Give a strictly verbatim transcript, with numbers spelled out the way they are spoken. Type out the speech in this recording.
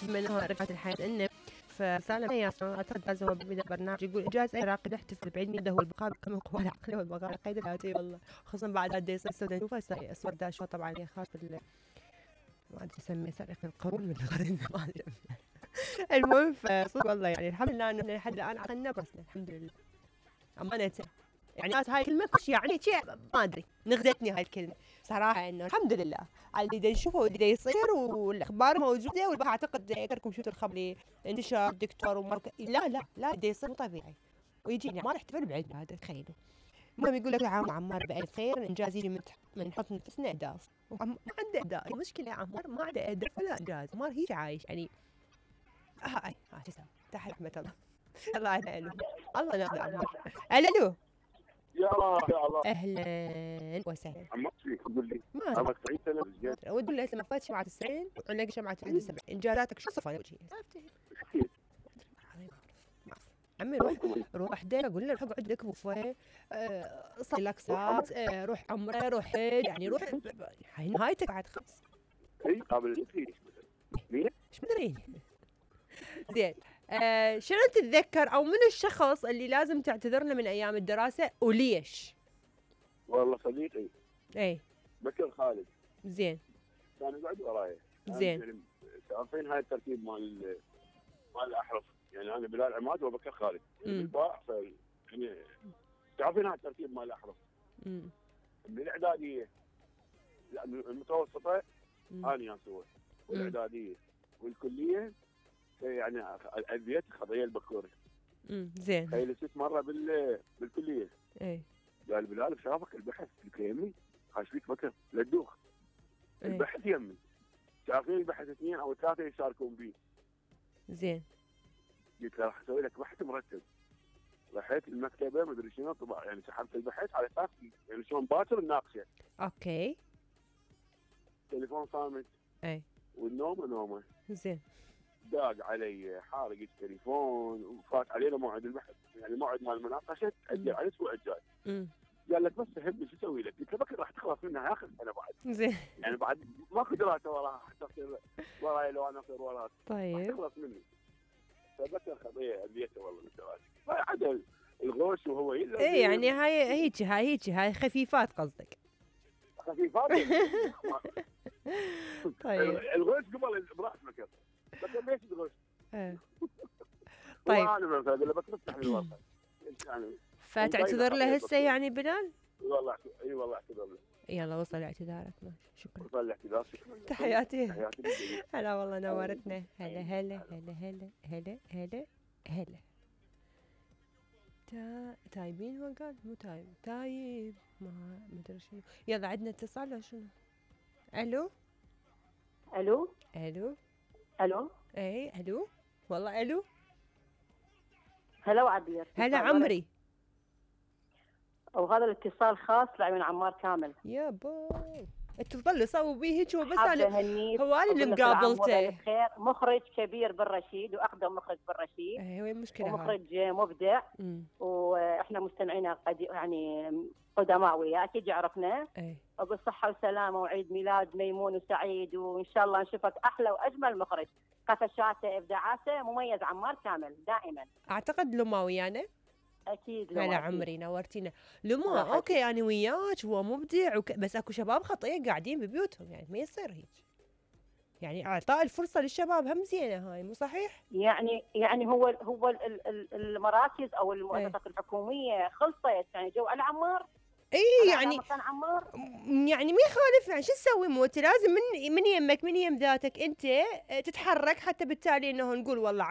بما انه رفعت الحياة انه فسالم ياسر اعتقد جاز هو بدا برنامج يقول انجاز العراقي يحتفل بعيد ميلاده هو البقاء بكم القوى العقليه والبقاء على قيد الحياه والله خصوصا بعد هذا يصير السودان نشوفها صور داشوا طبعا هي خاص بال ما ادري اسميه سرقه القرون من القرن ما ادري المهم فصدق والله يعني الحمد لله انه لحد الان عقلنا برسنا الحمد لله امانه يعني هاي الكلمه كش يعني شيء ما ادري نغدتني هاي الكلمه صراحه انه الحمد لله على اللي نشوفه واللي يصير والاخبار موجوده والبقى اعتقد اذكركم شفتوا الخبر انتشار دكتور ومرك لا لا لا اللي يصير مو طبيعي ويجيني عمار احتفل بعيد هذا تخيلوا المهم يقول لك عام عمار بألف خير الانجاز يجي من من نحط نفسنا اهداف ما عنده اهداف المشكله يا عمار ما عنده اهداف ولا انجاز عمار هيك عايش يعني هاي ها شو اسمه تحت رحمه الله الله يعينه الله ناخذ عمار الو يا الله يا الله اهلا وسهلا عمرك فيك قول لي ما عمرك تسعين سنه زين ودي لي هسه ما فات شمعة تسعين وعندك شمعة واحد وسبعين انجازاتك شو صفاني وجهي كثير عمي روح روح دينا قول له روح اقعد لك بوفيه أه صلي لك ساعات أه روح عمره روح حج يعني روح هاي نهايتك بعد خلص اي قابل فيك ليه؟ ايش مدري زين أه شنو تتذكر او من الشخص اللي لازم تعتذر له من ايام الدراسه وليش؟ والله صديقي اي بكر خالد زين كان يقعد وراي زين عارفين هاي الترتيب مال مال الاحرف يعني انا بلال عماد وبكر خالد يعني بالباع ف يعني تعرفين هاي الترتيب مال الاحرف امم من الاعداديه المتوسطه انا ياسوه والاعداديه والكليه يعني اديت خضيه البكوري امم زين هاي ست مره بال بالكليه اي قال بلال بشافك البحث قلت له يمي خاش فيك بكر لا تدوخ البحث يمي شايفين البحث اثنين او ثلاثه يشاركون بيه زين قلت له راح اسوي لك بحث مرتب رحت المكتبه ما ادري شنو طبع يعني سحبت البحث على اساس يعني شلون باكر الناقشه اوكي تليفون صامت اي والنوم نومه زين داق علي حارق التليفون وفات علينا موعد البحث يعني موعد مال المناقشه تاجل على الاسبوع الجاي امم قال لك بس فهمني شو اسوي لك؟ قلت له بكره راح تخلص منها اخر سنه بعد زين يعني بعد ماكو دراسه وراها حتى تصير وراي لو انا اصير وراك طيب تخلص مني فبكر خطيه ابيته والله من الدراسه عدل الغوش وهو اي يعني هاي هيك هاي هيك هاي خفيفات قصدك خفيفات طيب الغوش قبل براس بكر بكر ليش الغوش؟ ايه طيب انا مثلا اقول له بكر افتح لي الورقه يعني فتعتذر له هسه يعني بلال؟ والله اي والله اعتذر له يلا وصل اعتذارك ماشي شكرا وصل الاعتذار شكرا تحياتي تحياتي هلا والله نورتنا هلا هلا هلا هلا هلا هلا هلا تا تايبين هو قال مو تايب تايب ما مدري شنو يلا عندنا اتصال ولا شنو؟ الو الو الو الو اي الو والله الو هلا وعبير هلا عمري وهذا الاتصال خاص لعيون عمار كامل يا باي انت تظل صوبي هيك هو بس انا انا هو انا اللي مقابلته خير مخرج كبير بالرشيد واقدم مخرج بالرشيد اي وين المشكله مخرج مبدع مم. واحنا مستمعين قد يعني قدماء وياه اكيد يعرفنا اي وبالصحه والسلامه وعيد ميلاد ميمون وسعيد وان شاء الله نشوفك احلى واجمل مخرج قفشاته ابداعاته مميز عمار كامل دائما اعتقد لما ويانا اكيد هلا عمري نورتينا لما اوكي انا وياك هو مبدع وك... بس اكو شباب خطيه قاعدين ببيوتهم يعني ما يصير هيك يعني اعطاء الفرصه للشباب هم زينه هاي مو صحيح يعني يعني هو هو المراكز او المؤسسات ايه. الحكوميه خلصت يعني جو على عمار اي يعني عمار يعني ما يخالف يعني شو تسوي مو انت لازم من من يمك من يم ذاتك انت تتحرك حتى بالتالي انه نقول والله